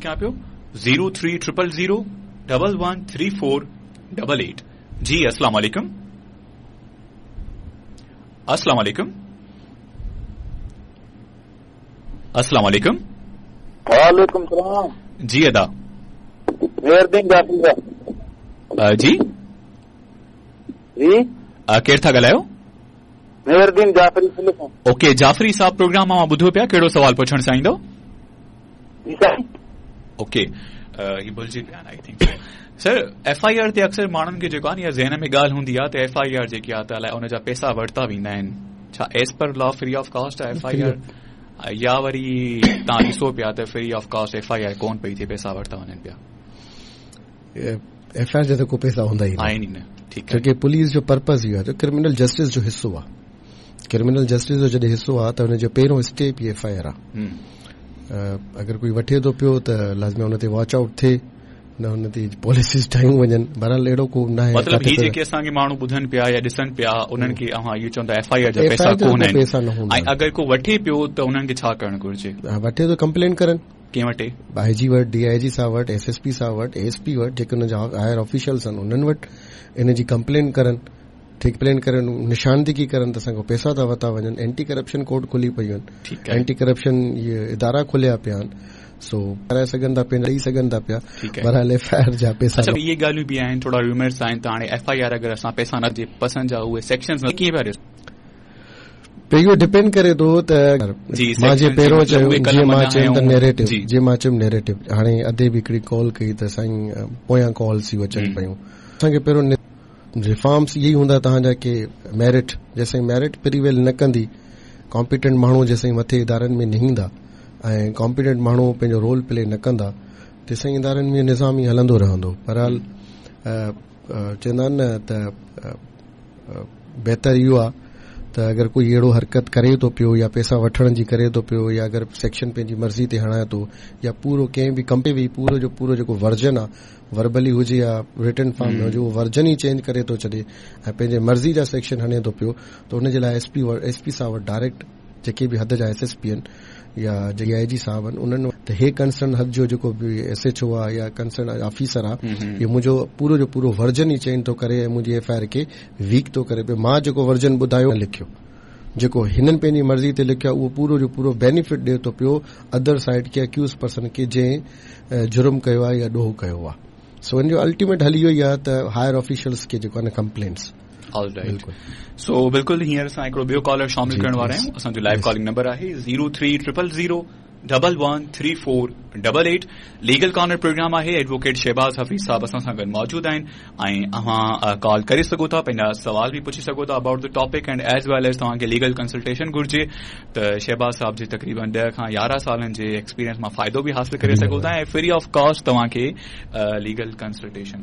ڪيان پيو 03 000 113488. جي السلام عليڪم، السلام عليڪم، السلام عليڪم. वालेकुम सलाम. जी अदा. मेहरदीन जाफरी साहब. जी. जी. केरु था ॻाल्हायो? मेहरदीन जाफरी. ओके जाफरी साहब, प्रोग्राम मां ॿुधो पिया, कहिड़ो सवाल पुछणु चाहींदो? जी साईं. ओके, ही भुलिजी पिया I think. Sir, FIR ते अक्सर माण्हुनि खे जेको आहे न, इहा ज़हन में ॻाल्हि हूंदी आहे त एफआईआर जेकी आहे त अलाए उन जा पैसा वरिता वेंदा आहिनि. छा as per law free of cost आहे एफआईआर, या वरी तव्हां ॾिसो पिया त फ्री ऑफ कॉस्ट एफआईआर कोन पई थिए, पैसा वरिता वञनि पिया? एफआईआर जा त को पैसा हूंदा ई आहिनि ई न, ठीकु आहे. छो की पुलिस जो पर्पस इहो आहे त क्रिमिनल जस्टिस जो हिसो आहे. क्रिमिनल जस्टिस जो जॾहिं हिसो आहे त हुन जो पहिरियों स्टेप ई एफआईआर आहे. अगरि कोई वठे थो पियो त लाज़मी हुन ते वॉच आउट थिए न, हुन ते पॉलिसीज़ ठाहियूं वञनि. बहरहाल अहिड़ो को न आहे. मतिलबु ही जेके असांखे माण्हू ॿुधनि पिया या ॾिसनि पिया, उन्हनि खे अव्हां इहो चवंदा एफआईआर जा पैसा कोन आहिनि? पैसा न हूंदा. ऐं अगरि को वठे पियो त उन्हनि खे छा करणु घुरिजे? वठे त कंप्लेन करनि. कंहिं वटि? आईजी वटि, डीआईजी साहब वटि, एसएसपी साहब वटि, एएसपी वटि, जेके हुननि जा हायर ऑफिशियल्स आहिनि उन्हनि वटि इन जी कंप्लेन करनि. कंप्लेन करनि, निशानदेही करनि त असांखां पैसा था वरिता वञनि. एंटी करप्शन कोर्ट खुली पयूं आहिनि, एंटी करप्शन इहे इदारा खुलिया पिया आहिनि, सो कराए सघनि था पिया, ॾेई सघनि था पिया. बहरहाल एफआईआर जा पैसा अच्छा, इहे ॻाल्हियूं बि आहिनि, थोरा रूमर्स आहिनि त हाणे एफआईआर अगरि असां पैसा न पसंदि जा उहे सेक्शंस कीअं पिया ॾिसो? इहो डिपेंड करे थो त मां जीअं पहिरियों चयो, जीअं मां चयमि त नैरेटिव, जीअं मां चयमि नैरेटिव. हाणे अदे बि हिकिड़ी कॉल कई त साईं पोयां कॉल्स ई अचनि पयूं. असांखे पहिरियों रिफॉर्म्स इहे ई हूंदा तव्हांजा की मेरिट, जेसीं मेरिट प्रिवेल न कंदी, कॉम्पिटेंट माण्हू जेसीं मथे इदारनि में न ईंदा ऐं कॉम्पिटेंट माण्हू पंहिंजो रोल प्ले न कंदा, तेसीं इदारनि में निज़ाम ई हलंदो रहंदो. बहरहाल चवंदा आहिनि न त बहितर इहो आहे त अगरि कोई अहिड़ो हरकत करे थो पियो या पैसा वठण जी करे थो पियो या अगरि सेक्शन पंहिंजी मर्ज़ी ते हणाए थो या पूरो कंहिं बि कंपनी बि पूरो जो पूरो जेको वर्जन आहे, वर्बली हुजे या रिटन फॉर्म में हुजे, उहो वर्जन ई चेंज करे थो छॾे ऐं पंहिंजे मर्ज़ी जा सेक्शन हणे थो पियो, त हुन जे लाइ एसपी साहब वटि डायरेक्ट, जेके बि हद जा एसएसपी आहिनि या जेके आईजी साहब आहिनि उन्हनि, त हे कंसर्न हद जो जेको बि एसएचओ आहे या कंसर्न ऑफिसर आहे, इहो मुंहिंजो पूरो जो पूरो वर्जन ई चेंज थो करे ऐं मुंहिंजी एफआईआर खे वीक थो करे पियो. मां जेको वर्जन ॿुधायो, लिखियो, जेको हिननि पंहिंजी मर्ज़ी ते लिखियो आहे, उहो पूरो जो पूरो बेनिफिट ॾिए थो पियो अदर साइड खे, अक्यूज़ पर्सन खे, जंहिं जुर्म कयो आहे या ॾोह कयो आहे. सो इन जो अल्टीमेट हल इहो ई आहे त हायर ऑफिशियल्स खे जेको आहे न कंप्लेंट्स. ऑलराइट, सो बिल्कुलु हींअर असां हिकिड़ो ॿियो कॉलर शामिल करण वारा आहियूं. असांजो लाइव कॉलिंग नंबर आहे 0300 0113488. लीगल कॉर्नर प्रोग्राम आहे, एडवोकेट शहबाज हफीज़ साहब असां सां गॾु मौजूदु आहिनि ऐं अव्हां कॉल करे सघो था, पंहिंजा सवाल बि पुछी सघो था about the topic and as well as तव्हांखे लीगल कंसल्टेशन घुरिजे त शहबाज साहब जे तक़रीबन 10 खां 11 सालनि जे एक्सपीरियंस मां फ़ाइदो बि हासिल करे सघो था ऐं फ्री ऑफ कॉस्ट तव्हांखे लीगल कंसल्टेशन.